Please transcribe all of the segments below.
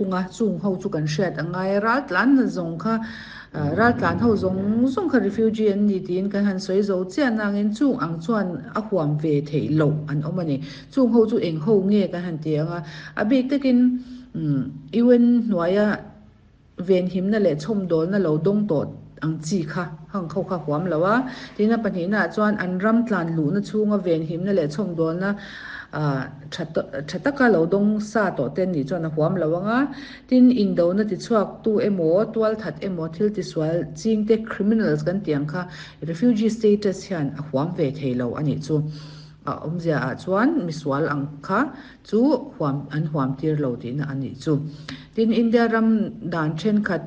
thung a, chung ho chu kan hriat a ngai a, raltlan na zawng kha raltlan ho zawng zawng kha refugee an ni tiin kan han sawi zo chiah nangin chung ang chuan a huam ve theih loh an awm a ni. Chung ho chu eng ho nge kan han ti ang a, a bik takin UN hnuaia venhimna leh chhawmdawlna lo dawng tawh ang chi kha hang ho kha huam lo a. Tin, a pahnihnaah chuan an ram tlan luhna chhunga venhimna leh chhawmdawlna tha tha taka lo dawng sa tawh te nih chuan a huam lo ang a. Tin, indona tichhuaktu emaw, tualthat emaw, thil tisual chingte, criminals kan tih ang kha refugee status hian a huam ve thei lo a nih chu. A awmzia ah chuan misual ang kha chu huam an huam tir lo tihna a nih chu. Tin, India ram dan thenkhat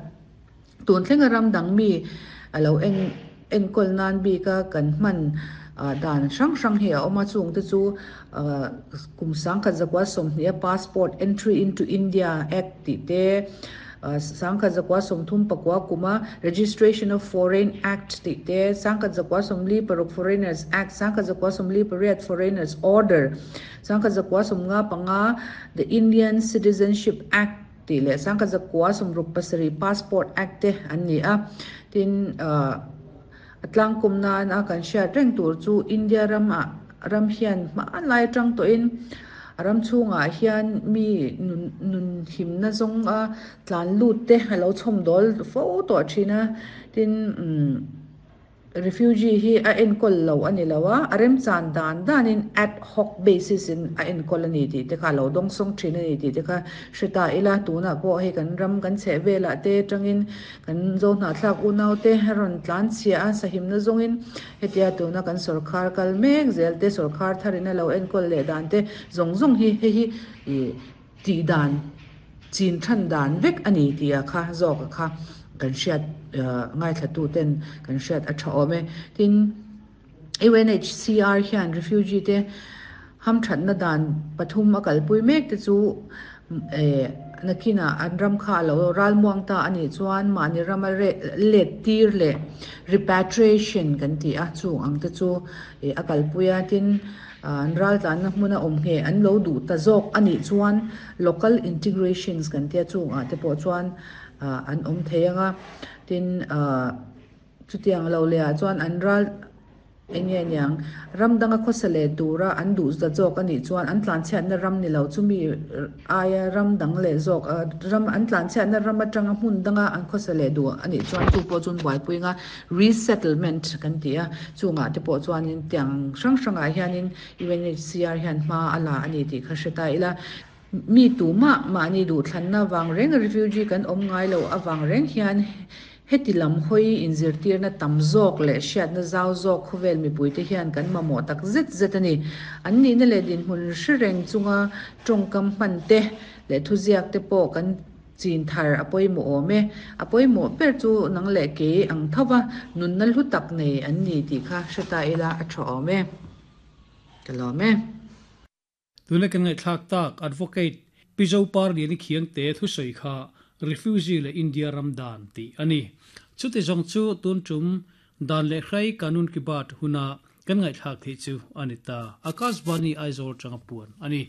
tun thlenga ram dang mi a lo en enkawl nan bika kan hman dan hrang hrang hi a awm a, chungte chu kum 1920 a Passport Entry into India Act tih te, 1939 kuma Registration of Foreign Act tih te, 1946 Foreigners Act, 1948 Foreigners Order, 1955 The Indian Citizenship Act tih leh 1967 Passport Act te an ni a. Tin, a tlangkawm nan a kan hriat reng tur chu India ram ah ram hian hmanlai atang tawhin a ram chhungah hian mi nun nun himna zawng a tlan lut te a lo chhawm dawl fo tawh thin a, tin umm refugee hi a enkawl lo a ni lo a, a remchan dan danin ad hoc basis in a enkawl a ni tih te kha a lo dawngsawng thin a ni tih te kha hre ta ila, tunah pawh hei kan ram kan chheh velah te atangin Kan Zohnahthlak unaute a rawn tlan chhia a, sahimna zawngin hetia tuna kan sawrkhar kal mek zel te, sawrkhar tharin a lo enkawl leh dan te zawng zawng hi hei hi ih tih dan, chin than dan vek a ni tih a kha zawk a kha kan hriat ngaithla ten kan hriat a tha awm e. Tin, UNHCR hian refugee te hamthatna dan pathum a kalpui mek te chu nakinah an ram kha a lo ralmuang ta a nih chuan mahni rama let tir leh repatriation kan ti a, chung ang te chu a kalpui a, tin an raltlanna hmuna awm ngheh an lo duh ta zawk a nih chuan local integrations kan tia chungah te pawh chuan an awm thei ang a, tin. Chutiang lo leh ah chuan an ral eng nge niang, ram danga khawsa leh tura an duh za zawk a nih chuan an tlanchhiatna ram ni lo chumi aia ram dang leh zawk ram an tlanchhiatna ram atanga hmun danga an khawsa leh duh a nih chuan chu pawh chuan buaipui anga resettlement kan ti a, chungah te pawh chuanin tiang hrang hrangah hianin UNHCR hian hma a la a ni tih kha hre ta ila. Mi tumah mahni duhthlanna vang reng refugee kan awm ngai loh avang reng hian heti lam hawi inzirtirna tam zawk leh hriatna zau zawk khawvel mipuite hian kan mamawh tak zet zet a ni. An nihna leh dinhmun hre reng chunga tawngkam hman te leh thuziak te pawh kan chin thar a pawimawh awm e. A pawimawh ber chu nang leh kei ang thova nunna hlu tak nei an ni tih kha hre ta ila a tha awm e. Ka lawm e. Tuna kan ngaihthlak tak Advocate Pi Zoparliani Khiangte thusawi kha Refugee leh India ram dan tih a ni. Chuti zawng chu tun tum dan leh hrai Kanun Ki Baat huna kan ngaihthlak theih chu a ni ta. Akashvani Aizawl tanga puan a ni.